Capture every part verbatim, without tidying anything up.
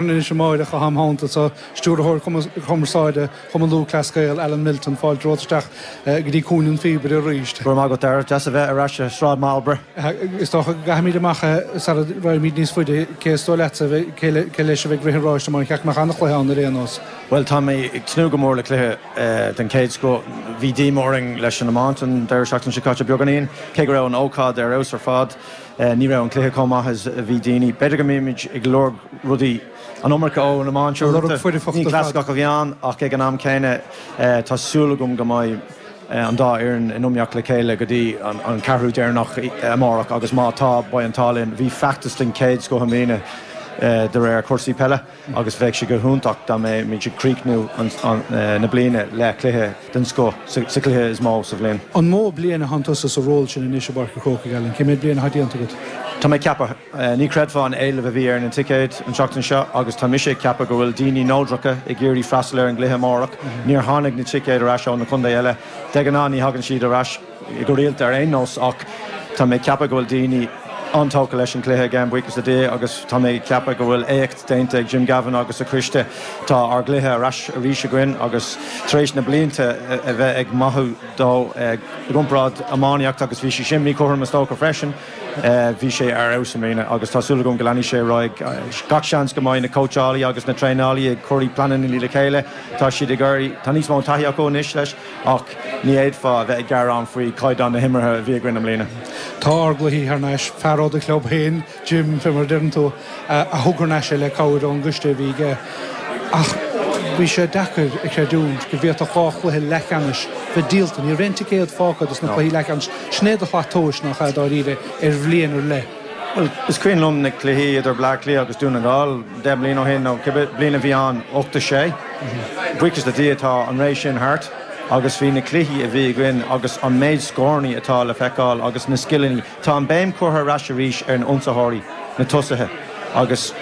Anois amárach a thamhanta sa stiúrthóir cumarsáide Chumann Lúthchleas Gael Alan Milton fáilte romhat isteach go dtí Cúinne an Phíobaire arís. Go raibh maith agat Dara, deas a bheith ar ais i Sráid Marlborough. Is dócha go gcaithfimid amach sara raghaimid níos faide cé is dóigh leatsa cé leis a bheidh ag rith an ráis amárach cheap mé an-chluiche ann ar aon nós. Bhuel tá mé ag tnúth go mór le cluiche den chéad scoth. Bhí díomá orainn leis an iomáint an deireadh seachtaine seo caite beagáinín, cé go raibh an ócáid ar fheabhas ar fad. Ní raibh an cluiche chomh maith is a bhí daoine. B'fhéidir go mbímid ag lorg rudaí an iomarca ón iomáint uaireanta. Ní clasaiceach a bhí ann ach ag an am céanna tá súil agam go mbeidh an dá fhoireann in iomaíocht le chéile go dtí an ceathrú deireanach amárach agus má tá beidh an t-ádh linn. Bhí feachtas den chéad scoth i mbliana de réir cúrsaí peile agus bheadh sé go hiontach dá mbeimid ag críochnú na bliana le cluiche den scoth sa chluiche is mó sa bhliain. An mó bliain atá tusa sa ról sin anois i bPáirc an Chrócaigh Alan, cé mhéad bliain atá déanta agat? Tá mé ag ceapadh, ní chreidfeá an éileamh a bhí ar na ticéid an tseachtain seo agus tá mise ag ceapadh go bhfuil daoine neodracha ag iarraidh freastal ar an gcluiche amárach. Níor tháinig na ticéid ar ais ó na contaetha eile. De ghnáth ní thagann siad ar ais go rialta ar aon nós ach tá mé ag ceapadh go bhfuil daoine an-tógtha leis an gcluiche again buíochas le Dia agus tá mé ag ceapadh go bhfuil éacht déanta ag Jim Gavin agus a choiste. Tá ár gcluiche ar ais arís againn agus tar éis na blianta a bheith ag maitheamh dó i gcomparáid iománaíocht agus bhí sé sin míchothrom is dócha freisin. Bhí sé ar fheabhas i mbliana agus tá súil agam go leanfaidh sé ar aghaidh. Gach seans go mbeidh na cóitseálaí agus na traenálaí ag cur pleananna le chéile. Tá siad ag iarraidh, tá níos mó taithí acu anois leis ach ní fhéadfá a bheith ag gearán faoi chaighdeán na himeartha a bhí againn i mbliana. Tá ár gcluichí thar n-ais, fear ó do chlub féin, Jim, fé mar a deireann tú, a thug thar n-ais é le cabhair ón gcoiste a bhí aige. Ach bhí sé deacair a chreidiúint go bhféadfadh dhá chluiche leathcheannais bheith díolta. Ní raibh aon ticéad fágtha dos na cluichí leathcheannais. Sin é do shlat tomhais nach ea dáiríre ar bhliain ar leith. Bhuel, is cuimhin liom na cluichí idir Bleá Cliath agus Dún na nGall deich mbliana ó shin nó cibé bliain a bhí ann, ocht a sé. Buíochas le Dia tá an ré sin thart agus bhí na cluichí a bhí againn agus an méid scóranna atá le feiceáil agus na scileanna, tá an béim curtha ar ais arís ar na ionsaitheoirí, na tosaithe agus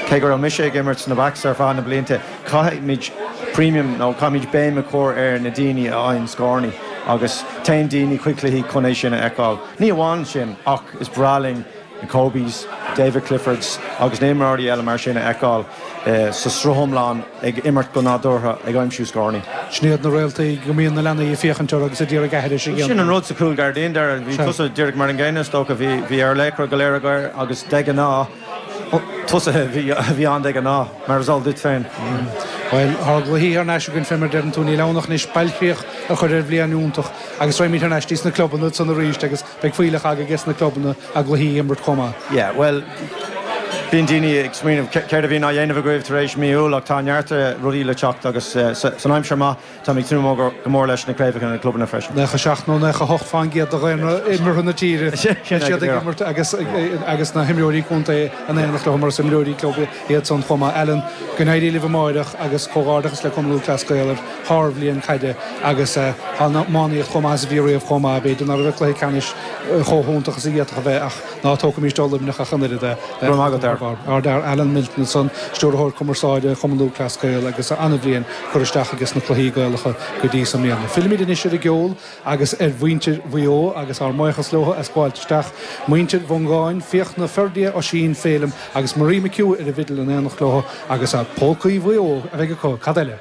cé go raibh mise ag imirt sna backs ar feadh na blianta, caithfimid premium nó caithfimid béim a chur ar na daoine a fhaigheann scóranna agus téann daoine chuig cluichí chun é sin a fheiceáil. Ní amháin sin ach is breá linn na Kobes, David Cliffords agus na himreoirí eile mar sin a fheiceáil sa sruth iomlán ag imirt go nádúrtha ag aimsiú scóranna. Sin iad na réaltaí go mbíonn na leanaí ag féachaint orthu agus ag iarraidh aithris a dhéanamh. Sin an rud sa chúl gairdín, Dara, bhí tusa díreach mar an gcéanna is dócha, bhí bhí ár laochra go léir againn agus de ghnáth tosaithe a bhí ann de ghnáth, mar is eol duit féin. Bhuel, ár gcluichí thar n-ais againn fé mar a deireann tú, níl ann ach anois bailchríoch a chur ar bhliain iontach agus raghaimid thar n-ais dtí sna clubanna ansan arís agus beidh fuílleach agaibh sna clubanna a gcluichí a imirt chomh maith. Yeah, bhuel, bíonn daoine ag smaoineamh céard a bhíonn á dhéanamh agaibh tar éis mí Iúil ach tá neart rudaí le teacht agus san aimsir maith tá mé ag tnúth go mór leis na craobhacha na clubanna freisin. Nócha seacht nó nócha hocht faoin gcéad de dhaonra imeartha na tíre beidh siad ag imirt agus agus na himreoirí contae in éineacht leo mar is imreoirí club iad san chomh maith. Alan, go n-éirí libh amárach agus comhghairdeachas le Cumann Lúthchleas Gael ar shárbhliain caide agus tá an iománaíocht chomh maith is a bhí riamh chomh maith. B'fhéidir nach raibh an cluiche ceannais chomh hiontach is a d'fhéadfadh a bheith ach ná tógaimis do Luimneach ach an oiread é. Go raibh maith agat Dara. Ardfhear Alan Milton ansan, Stiúrthóir Cumarsáide Chumann Lúthchleas Gael agus an-bhliain curtha isteach aige sna cluichí Gaelacha go dtí so i mbliana. Fillimid anois ar an gceol agus ar mhuintir Mhaigh Eo agus ár mbuíochas leo as gabháilt isteach. Muintir Mhongáin, Fiachna, Ferdia, Oisín, Féilim agus Marie McHugh ar an bhfidil in éineacht leo agus Pócaí Mhaigh Eo a bheidh acu, cad eile?